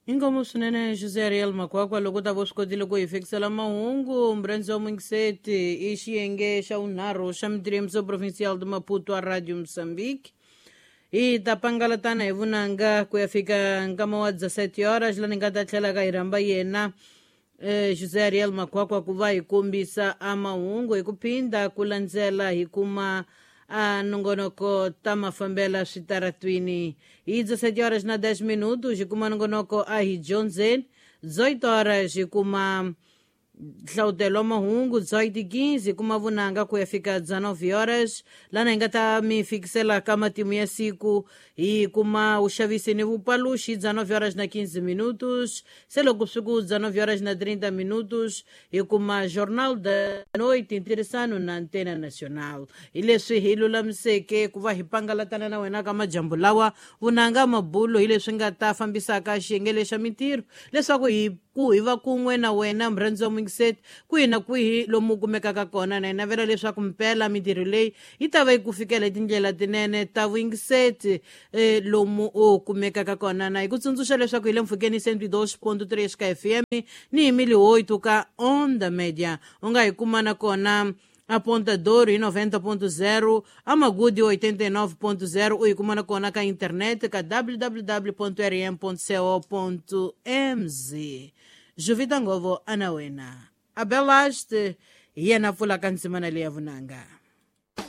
Inkomu swinene José Ariel Makwakwa loko ta vo swi kotile ku hi fikisela mahungu. Murhandzi wa muyingiseti, i xiyenge xa vunharhu xa mitirho provincial de Maputo a Radio Moçambique. Hi ta pangalatana hi vunanga ku ya fika nkama wa 17 horas, la ni nga ta tlhela ka hi rhamba yena José Ariel Makwakwa ku va hi kombisa a mahungu hi ku phinda ku landzela hi kuma a nongonoko ta mafambela switaratwini. Hi 17 horas na 10 minutos hi kuma nongonoko a hi dyondzeni. 18 horas hi kuma nhlawutelo wa mahungu. 18:15 hi kuma vunanga ku ya fika 19 horas, lana hi nga ta mi fikisela ka matimu ya siku. Hi kuma vuxavisi ni vupaluxi 19 horas na 15 minutos. Se loko swi ku 19 horas na 30 minutos hi kuma Jornal da Noite, ntirhisano na Antena Nacional. Hi leswi hi lulamiseke ku va hi pangalatana na wena ka majambu lawa. Vunanga mabulo hi leswi nga ta fambisaka xiyenge lexa mintirho leswaku hi ku hi va kun'we na wena, murhandzi wa muyingiseti, kwihi na kwihi lomu kumekaka kona. Na hi navela leswaku mpela mintirho leyi yi ta va yi ku fikela hi tindlela tinene ta vuyingiseti lomu u kumekaka kona. Na hi ku tsundzuxa leswaku hi le mpfhukeni 102.3 ka FM ni hi 1008 ka Onda Media. U nga hi kuma na kona a Ponta Douro hi 90.0, a Magudi 89.0. U yi kuma na kona ka internet ka www.rm.co.mz. Juvita Ngovo ana wena Abelaste hi yena pfulaka ndzimana leya vunanga.